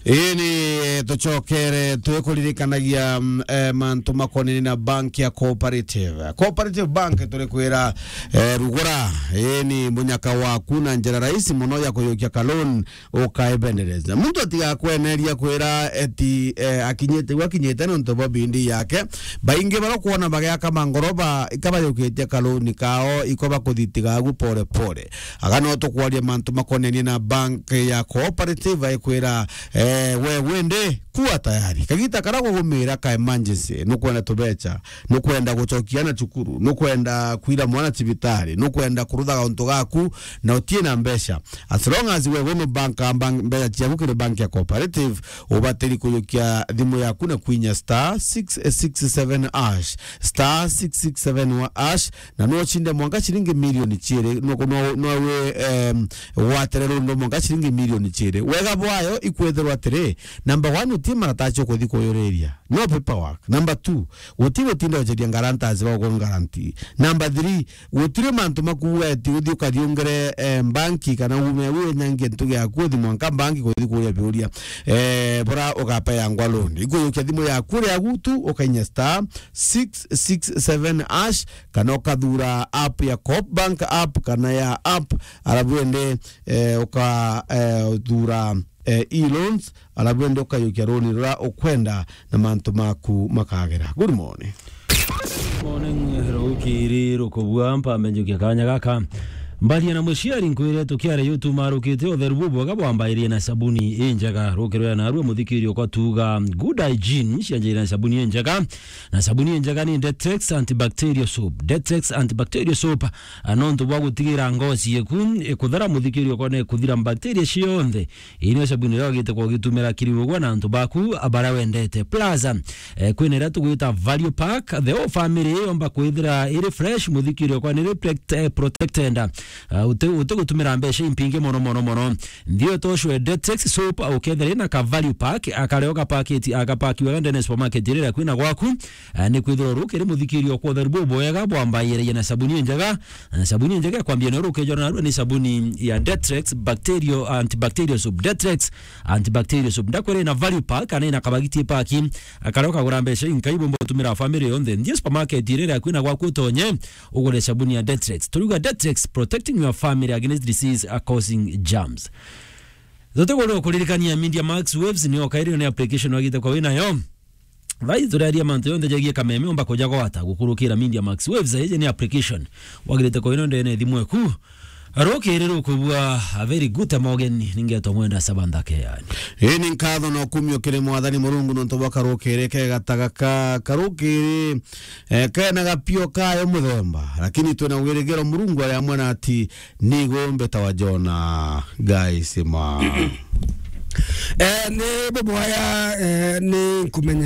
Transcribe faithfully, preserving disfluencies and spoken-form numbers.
Ii ni, eh, tucokere twikuririkanagia, mm, eh, mantu makonini na bank ya Cooperative. Cooperative Bank turikwira, eh, rugura, ii ni munyaka waku na njira rahisi muno ya kuyukia ka loan ukaebendereza. Muntu atigakweneria kwira eti, eh, akinyite, gwa akinyite nontu bwa bindi yake. Baingi barokwona bagiaka mangoroba, ikabayukitie ka loan kao, iko bakuthitiga agu pore pore. Aga no tukwaria mantu makonenie na bank ya Cooperative, aikwira, eh, we wende kuwa tayari. Kagita kara gugumira ka emergency, nukwenda tubecha, nukwenda gucokia na cukuru, nukwenda kwira mwana cibitari, nukwenda kuruthaga untu gaku na utie na mbeca. As long as we wino bank, bank, mbeca ciaku kiri bank ya Cooperative, ubatiri kuyukia thimu yaku na kwinya star six six seven hash, star six six seven hash, na no ucinde mwanka ciringi milioni ciiri, no, no, no we, em, watere rundo mwanka ciringi milioni ciiri. Wega bwayo ikwethirwa atiri, number one, uti marataci ukuthi kuyuriria. No paperwork. Number two, guti gutinda uceria guarantors ba guku guarantee. Number three, gutiri mantu makuuga eti uthi ukathiungire, eh, banki kana ume wi nyangi ntu giaku uthi mwanka banki kuthi kuria biuria, eh, bura ugapeyangwa loan. Ikuyukia thimu yaku uria gutu ukainya star six six seven hash kana ukathura app ya Coop Bank app kana ya app, arabu ende, eh, uka, eh, thura, eh, e-loans, arabu ende ukayukia roni ruria ukwenda na mantu maku makagera. Good morning. Morning, rukiri rukubua, mpambe njukia kanya gaka. Mbaria na muciari nkwire tukiare yutumarukite utheru bubwega bwambairie na sabuni injega. Rukirwe narua muthikiri okwa tuga good hygiene cianjire na sabuni injega. Na sabuni injega ni Detex antibacterial soap. Detex antibacterial soap, a, nontu bwa gutigira ngoci yeku ikuthera muthikiri okwa ne kuthira bacteria cionthe. Ii nio sabuni iria wagite kwa ugitumira kiri ugwa na antu baku baria wendete. Plus, eh, kwina iria tugwita value pack, the whole family yomba kwithira iri fresh, muthikiri okwa ni reflect, eh, protected. Ah, uti, uti gutumira mbeca impingi mono, mono, mono. Nthio toshwe Detex soap, ukethira ina ka value pack, akareo ka package, akapakiwa ndene supermarket iria kwina gwaku. Ah, ni kwithirwa rukiri muthikiri okwa utheru bubwega bwambairie na sabuni injega. Na sabuni injega ya kwambia nayo rukejora narua ni sabuni ya Detrex bacterial, antibacterial soap. Detrex antibacterial soap. Ndakwira ina value pack, kana ina kabagiti pack. Akareo kagura mbeca inkai bumba gutumira family yonthe. Nthie supermarket iria iri akui na gwaku utonye, ugure sabuni ya Detrex. Turiuga Detrex, protecting your family against disease, uh, causing germs. Tutigurire kuririkania Media Max Waves ni okairio ni application wagite kwa winayo. Thai turaria mantu yonthe jegie kameme umba kuja gwata gukurukira Media Max Waves, iji ni application. Wagirite koino ndene thimu eku. Rukiri rukubua, a very good morning, ningetwa Mwenda Sabandake yani. Ii ni nkatho na ukumio kiri Mwathani Murungu nontu bwa karukiri kega ta gaka. Karukiri, eh, kena gapio kayo muthemba, lakini twina wirigiro Murungu ari amwe na ati ni igumbe ta wa Jona. Guys, ma. Eh, ni bubwaya, eh, ni nkumenya